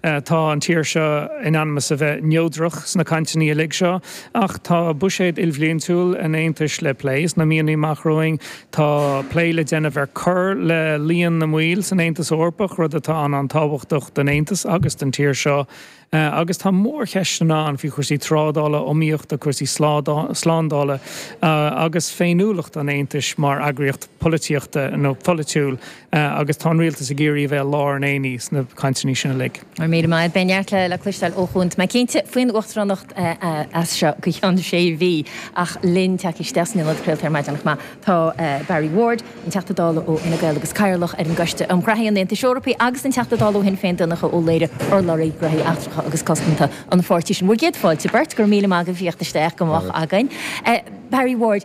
Tá an tír seo in ainm is a bheith neodrach sna cainteanna uilig seo, ach tá buiséad ilbhliantúil an Aontais le plé sna míonna amach romhainn. Tá plé le déanamh ar cur le líon na mbaill san Aontas Eorpach, rud atá an-an-tábhachtach don Aontas agus don tír seo. Agus tá mórcheisteanna ann faoi chúrsaí trádála, iomaíochta, cúrsaí slándála agus féiniúlacht an Aontais mar eagraíocht polaitíochta nó pholaitiúil agus tá an rialtas ag iarraidh a bheith i lár an aonaigh sna cainteanna sin uilig. Go raibh míle maith. Beidh neart le cloisteáil ó Chuan, tá mé cinnte, faoin Uachtaránacht as seo go ceann sé mhí. Ach linn tagtha isteach san ionad craolta ar maidin chomh maith tá Barry Ward, an Teachta Dála ó Fhine Gael agus Cathaoirleach ar an gCoiste um Ghraithí an Aontais Eorpaigh agus an Teachta Dála ó Shinn Féin Donncha Ó Laoghaire, urlabhraí Gnóthaí Eachtracha agus Cosanta an pháirtí sin. Bhur gcéad fáilte beirt, go raibh míle maith agaibh as theacht isteach go moch againn. Barry Ward,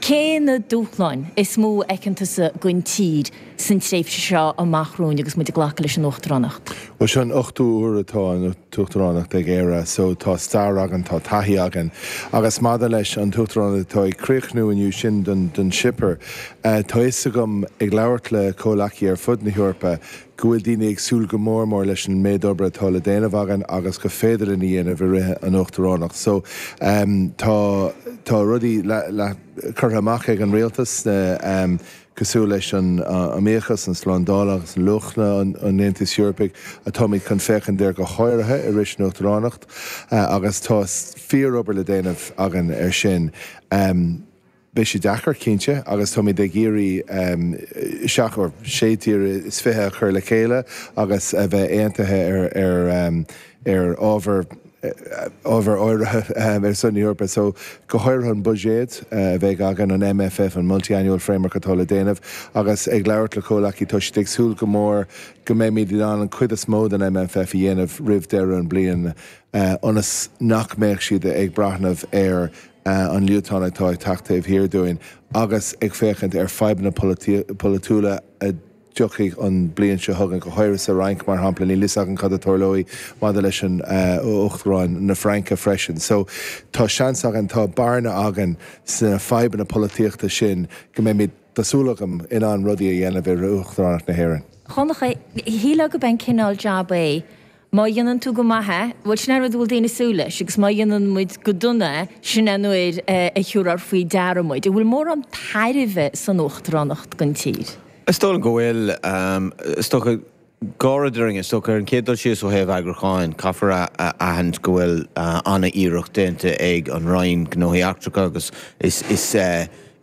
cé na dúshláin is mó a fheiceann tusa don tír san tréimhse seo amach romhainn agus muid ag glacadh leis an Uachtaránacht? Bhuel, seo an ochtú uair atá an t-uachtaránacht ag Éire so tá stair againn, tá taithí againn. Agus maidir leis an t-uachtaránacht atá ag críochnú inniu, sin don Chipir, tá fhios agam ag labhairt le comhleacaí ar fud na hEorpa go bhfuil daoine ag súil go mór mór leis an méid oibre atá le déanamh againn agus go féidir linn a dhéanamh i rith an uachtaránacht. So tá tá rudaí curtha amach ag an rialtas sna cosúil leis an iomaíochas, an slándáil agus an luachanna an Aontais Eorpaigh atáimid chun féachaint air go háirithe i rith an uachtaránacht agus tá fíor-obair le déanamh againn ar sin. Beidh sé deacair, cinnte, agus táimid ag iarraidh seacht or sé tír is 20 a chur le chéile agus a bheith aontaithe ar ar ábhar ábhar áirithe ar son na hEorpa. So, go háirithe an buiséad a bheidh againn, an MFF, an Multi-Annual Framework atá le déanamh, agus ag labhairt le comhleacaí, tá siad ag súil go mór go mbeimid in ann an cuid is mó den MFF a dhéanamh roimh deireadh an bliain ionas nach mbeadh siad ag breathnamh ar an Liotuáin atá ag teacht taobh thiar dúinn agus ag féachaint ar fadhbanna polaitiúla a dtiocfaidh an bliain seo chugainn, go háirithe sa Fhrainc, mar shampla. Níl fhios againn cad a tarlóidh maidir leis an Uachtarán na Fraince freisin. So, tá seans againn, tá bearna againn sna fadhbanna polaitíochta sin go mbeimid, tá súil agam, in ann rudaí a dhéanamh i rith Uachtaránacht na hÉireann. Dhonncha, shílfeá gurb é an cineál jab é Má dhéanann tú go maith é, bhuel, sin é an rud a bhfuil daoine ag súil leis, agus má dhéanann muid go dona é, sin é an uair a thiúrfar faoi deara muid. An bhfuil mórán tairbhe san uachtaránacht don tír? Is dóigh liom go bhfuil. Is dócha, dhá rud orainn, is dócha, ar an chéad dul síos ó thaobh eagrúcháin, caithfear a aithint go bhfuil an-iarracht déanta ag an Roinn Gnóthaí Eachtracha agus is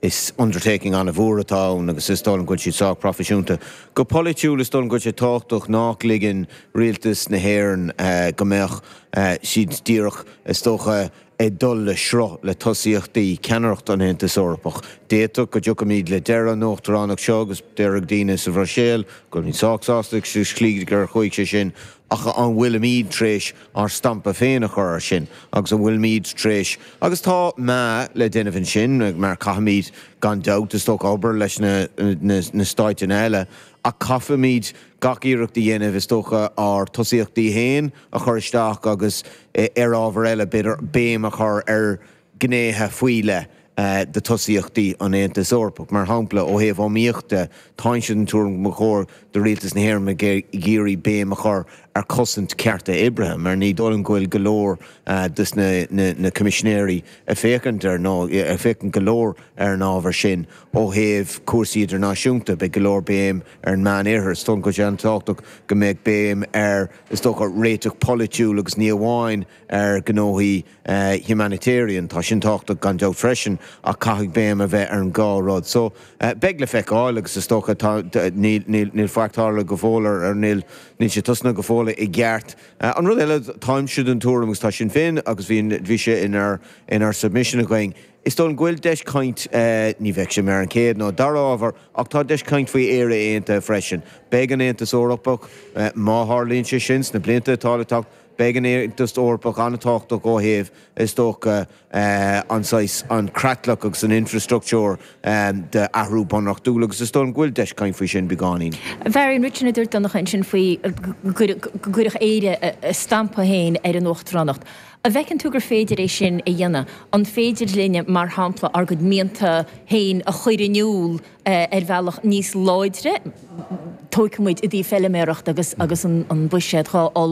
Is undertaking an-mhór atá ann agus is dóigh liom go bhfuil siad sách proifisiúnta. Go polaitiúil is dóigh liom go bhfuil sé tábhachtach nach ligeann rialtas na hÉireann go mbeadh siad díreach, is dócha, ag dul le sruth le tosaíochtaí ceannaireacht an Aontais Eorpach. D'fhéadfadh go dtiocfaimid le deireadh an uachtaránacht seo agus déarfaidh daoine sa Bhruiséil go bhfuilimid sách sásta leis an slí gur chuaigh sé sin ach an bhfuilimid tar éis ár stampa féin a chur air sin agus an bhfuilimid tar éis, agus tá meá le déanamh ansin mar caithfimid gan dabht is dócha obair leis na na stáiteanna eile ach caithfimid gach iarracht a dhéanamh is dócha ár tosaíochtaí féin a chur isteach agus ar ábhar eile b'fhéidir béim a chur ar ghnéithe faoi leith de tosaíochtaí an Aontais Eorpaigh. Mar shampla, ó thaobh iomaíochta, táimse den tuairim go mba chóir do Rialtas na hÉireann bheith ag iarraidh béim a chur ar chosaint cearta oibrithe, mar ní dóigh liom go bhfuil go leor des na Coimisinéirí ag féachaint ar, nó ag féachaint go leor ar an ábhar sin. Ó thaobh cúrsaí idirnáisiúnta, beidh go leor béim ar an Meán-Oirthear. Is dóigh liom go bhfuil sé an-tábhachtach go mbeadh béim ar, is dócha, réiteach polaitiúil agus ní amháin ar ghnóthaí humanitarian. Tá sin tábhachtach gan dabht freisin ach caithfidh béim a bheith ar an dhá rud. So, beidh le feiceáil agus is dócha tá, níl, níl, níl faic tarlaithe go fóill ar, ar níl, níl sé tosnaithe go fóill i gceart. An rud eile, táimse den tuairim agus tá Sinn Féin agus bhí, bhí sé inár, inár submission againn, is dóigh liom go bhfuil deis caint, ní bheidh sé mar an chéad nó dara ábhar ach tá deis caint faoi Éire Aontaithe freisin. Beidh an Aontas Eorpach, má tharlaíonn sé sin sna blianta atá le teacht, Beidh an Aontas Eorpach an-tábhachtach ó thaobh, is dócha, an saghas, an creatlach agus an infreastruchtúr d'athrú bunreachtúil agus is dóigh liom go bhfuil deis caint faoi sin beagáinín. Bharry, an rud sin a dúirt Donncha ansin faoi go gcuirfeadh Éire a stampa féin ar an uachtaránacht, an bhfeiceann tú gur féidir é sin a dhéanamh? An féidir linne, mar shampla, ár gcuid mianta féin a chur in iúl ar bhealach níos láidre, tógfaidh muid i dtaobh feiliméarachta agus agus an buiséad dhá.